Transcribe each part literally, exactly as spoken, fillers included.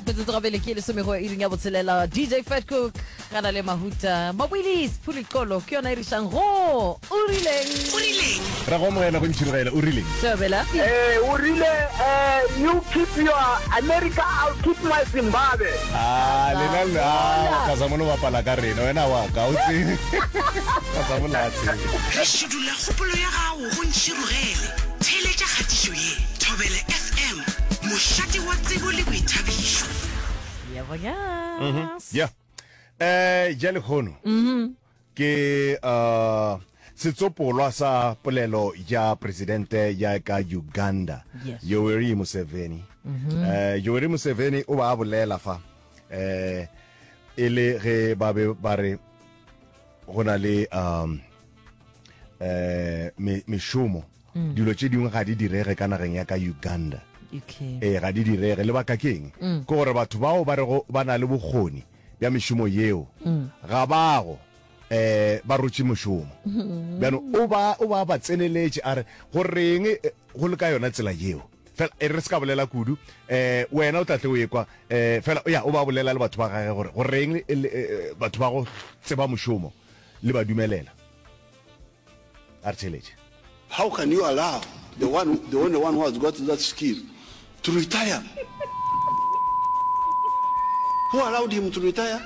Metsotso gabele ke lesomego iring ya botshelela. D J Fatcook gana le Mahuta Maboilis Phulikolo ke yona e rišang go O Rileng. O Rileng. Ra go amogela go Ntšhirogela. O rileng? Thobela. Eh, o rile eh, you keep your America, I'll keep my Zimbabwe. Ah, lena le ah, Kazamola o bapala ka rena. Wena wa ka o tsebe. Kazamola a tsebe. Re šudula kgopolo ya gago go Ntšhirogele. Theeletša kgatišo ye, Thobela F M, mošate wa tsebo le boithabišo. Yebo, yes. Yeah. Eh, ja lekgono. Ke uh setsopolwa sa polelo ya presidente ya ka Uganda. Yes. Yoweri Museveni. Eh, Yoweri Museveni o ba a bolela fa. Eh, e le ge ba be ba re go na le um eh me- mešomo, dilo tše dingwe ga di direge ka nageng ya ka Uganda. Okay. Ee, ga di direge. Lebaka ke eng? Ke gore batho bao ba rego ba na le bokgoni bja mešomo yeo ga bago um ba rotše mošomo. Bjano o ba o ba ba tseneletše, a re go reng eh, go le ka yona tsela yeo. Fela e re se ka bolela kudu, um wena o tla tle o ekwa um fela ya o ba bolela le batho ba gage gore go reng e le, eh, batho ba go tseba mošomo le ba dumelela. A re theletše. How can you allow the one, the only one who has got that skill to retire? Who allowed him to retire?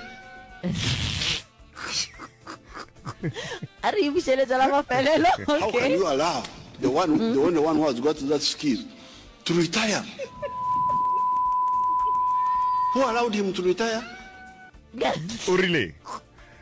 A re e bušeletša la mafelelo. How can Okay. you allow the one, the only one who has got that skill to retire? Who allowed him to retire? O rile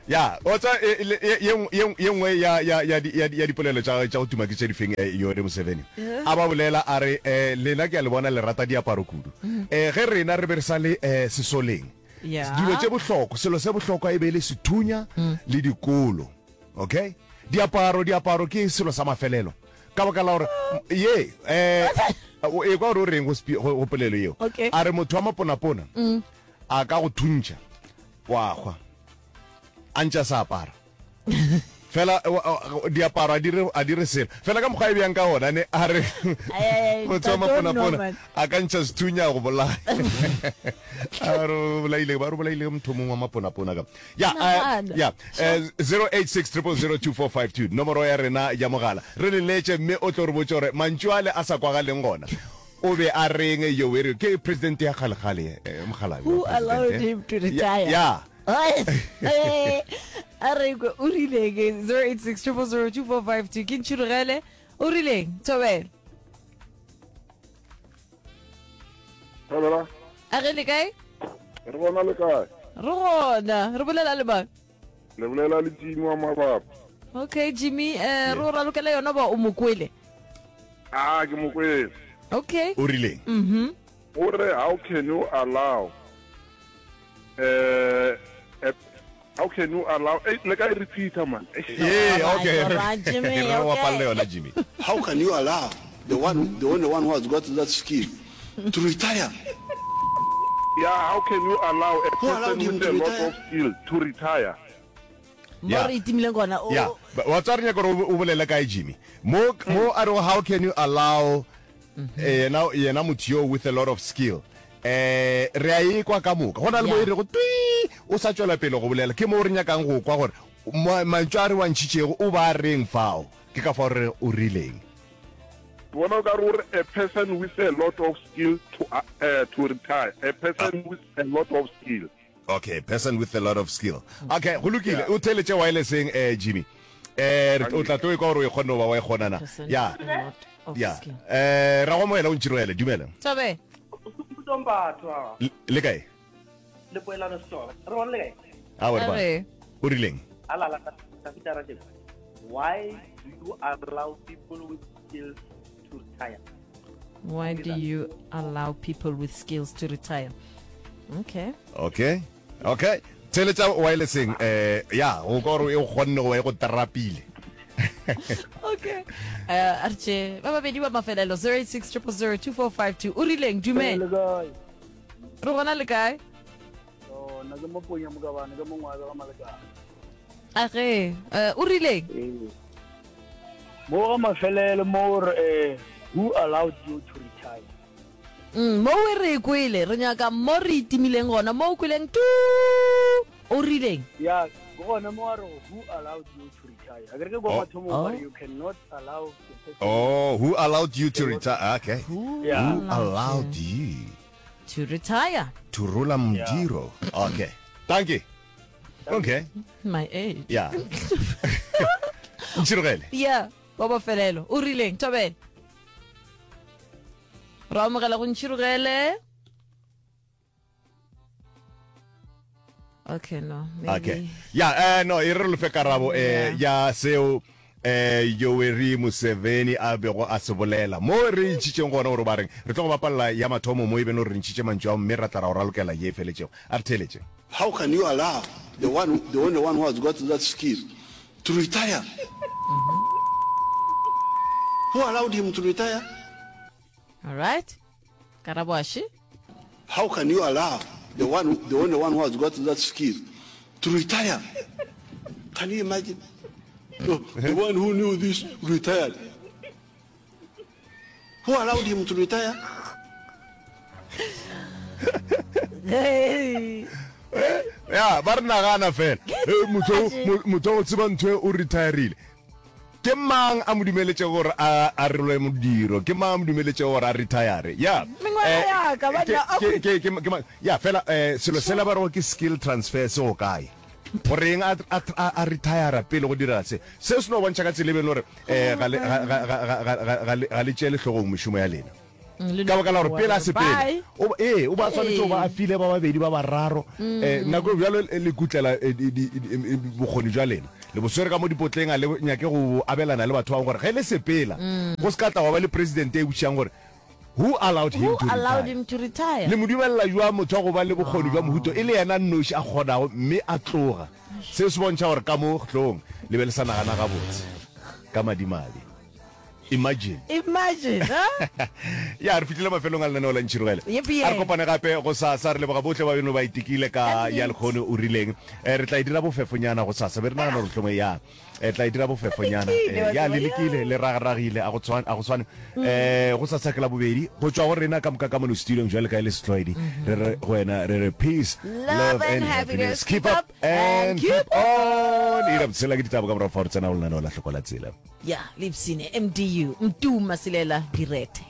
ya o tsa e- le- ye ye- ye nngwe ya ya ya di- ya di- ya dipolelo tša tša go tuma ke tše difeng? eh, Yoweri Museveni a ba bolela a re, eh lena ke a le bona le rata diaparo kudu. eh ge rena re be re sa le eh sesoleng, Ya. dilo tše bohlokwa, selo se bohlokwa e be e le sethunya le dikolo. Okay, diaparo diaparo ke selo sa mafelelo, ka baka la gore ye eh o e kwa gore o reng go spe- go go polelo yeo. Okay. A re motho wa maponapona a ka go thuntšha wa hwa a ntša sa apara fela, eh, wa- wa- diaparo a dire a dire selo fela ka mokgwa e bjang ka gona ne. A re Ai, ai, ai, motho wa Ntate maponapona Norman. a ka ntšha sethunya go bolaya. A re o bolaile, ba re o bolaile motho mongwe wa maponapona ka ya eh, Nagana. Ya eh, zero eight six triple zero two four five two, nomoro ya rena ya mogala. Re leletše mme o tlo re botse gore mantšu ale a sa kwagaleng gona o be a reng. Yoweri ke president ya kgalekgale, eh, mokgalabje Who wa president, allowed eh. him to Ya- retire? Ya. A re kwe o rileng. zero eight six zero zero two four five two ke Ntšhirogele. O rileng, Thobela? Thobela. A ge le kae? Re bona, le kae? Re gona. Re bolela le mang? Le bolela le Jimmy wa mabapa. Okay Jimmy, eh re o ralokela yona ba o mokwele? A ke mokwele. Okay. O rileng? Mhm o re how can you allow uh, how can you allow, eh, le ka e repeater, man? Yeah, okay. Alright, alright, Jimmy, Re okay. bapalle yona, Jimmy. How can you allow the one, the only one who has got that skill to retire? Yeah, how can you allow a Who allowed person him with to a lot retire? of skill to retire? Mo Yeah. re itimileng gona o Ya, wa tswa re nyaka gore o bolele kae, Jimmy? Mo mo a re how can you allow eh, yena yena motho yo with a lot of skill, eh re a e kwa ka moka. Go na le mo Yeah. e re go twi o sa tswela pele go bolela, ke mo re nyakang go kwa gore mo- mantšu a re wantšhitšego o ba reng fao. Ke ka fao re o rileng. Bona o ka re o re a person with a lot of skill to uh, uh, to retire, a person with a lot of skill. Okay, person with a lot of skill. Okay, go lokile. O theletše wirelesseng, eh Jimmy. eh re- o tla tlo e kwa gore o e kgonne go ba wa e kgonana. Person Ya. with a lot of Ya. skill. eh ra go moela o ntšhiroele, dumela. Thobe. Mbatho. Le- le kae? Le poelano setšhaba, re bona le kae? A A re. O rileng? Alala Tafita Rajeb. Why do you allow people with skills to retire? Why do you allow people with skills to retire? Okay. Okay, okay, theletša wirelesseng. eh ya go ka gore e go kgonne go ba e go trapile. Okay, uh a re tše ba babedi ba mafelelo, zero eight six zero zero two four five two. O rileng? Dumela. Kae? Re gona, le kae? Nna ke Moponya Mokabane, ke mongwe wa ga Malekane. A ge eh, o rileng? Ee, mo ga mafelelo mo re eh, who allowed you to retire? Mm, mo e re kwele re nyaka mo re itimileng gona mo o kweleng tu o rileng Ya, ke gona mo a re who allowed you to retire. A ke re ke kwa Oh. mathomong Oh. ba re you cannot allow the person. Oh, who allowed you to retire? Okay. Who Yeah. Who allowed you to retire to rola modiro? Okay. Thank you. Okay. my age Yeah. Ntšhirogele. yeah wa bofelelo o rileng thobela re amogela go ntšhirogele okay no maybe. Okay. Yeah, eh no, e re lefe karabo eh ya seo eh Yoweri Museveni a bego a se bolela. Mo re ntšhitšeng gona gore ba reng re tlo go bapalla ya mathomo mo e beno re ntšhitše mantšu ao mme ra tla ra o ralokela ye e feletšego. A re theeletše. How can you allow the one, the only one who has got that skill to retire? Who allowed him to retire? all right karabo aše How can you allow the one, the only one who has got that skill to retire? Can you imagine? No, the one who knew this retired. Who allowed him to retire? Hey. Ya, ba re nagana fela. Eh, motho o- motho o tseba ntho e o retirile. Ke mang a mo dumeletšego gore a a rolwe modiro? Ke mang a mo dumeletšego gore a retire? Ya. Mengwaga Eh, ya ka, ke- banna, a ke- ke- ke- ke mang? Ya, fela eh selo sela ba rego ke skill transfer se go kae? Goreng a a a- a retire pele go dira se? Se se no bontšha ka tsela e beng gore eh ga le ga ga ga ga- ga ga le- ga le tšeele hlogong mešomo ya lena. Ka baka la gore pele a sepele o ee o ba swanetše go ba a file ba babedi ba bararo um nako e bjalo le kutlela eh, di- di- di- eh, bokgoni jwa lena le bo swere ka mo dipotleng a le nyake go abelana le batho ba bangwe gore ge le sepela go se ka tla wa ba le president e botšišang gore who allowed him who to allowed retire him to retire le mo dumelela jwa motho wa go ba le bokgoni jwa mohuto e le yena nnoši a kgonago mme a tloga se se bontšha gore ka mo hlong le be le sa nagana gabotse ka madimabe imagine imagine huh? ya re fitlhile mafelong a lenaneo la ntšhirogele Yep, yeah. a re kopane gape go sasa re leboga bohle ba beno ba itekile ka ya lekgono o rileng Eh, re tla e dira bofefonyana go sasa be re nagana gore hlongwe ya eh, tla e dira bofefonyana Lekile, Eh, ya wa le tseba, lekile le ragaragile a go tshwane a go tshwane eh go sasa ke la bobedi go tšwa go rena ka moka ka mono studiong jwale ka e le setlwaedi re re go wena re re peace Love and happiness. keep up and keep on e ra botshela ke ditaba ka morago fa re tsena go lenaneo la hloko la tsela ya lepsine mdu mtu masilela direthe.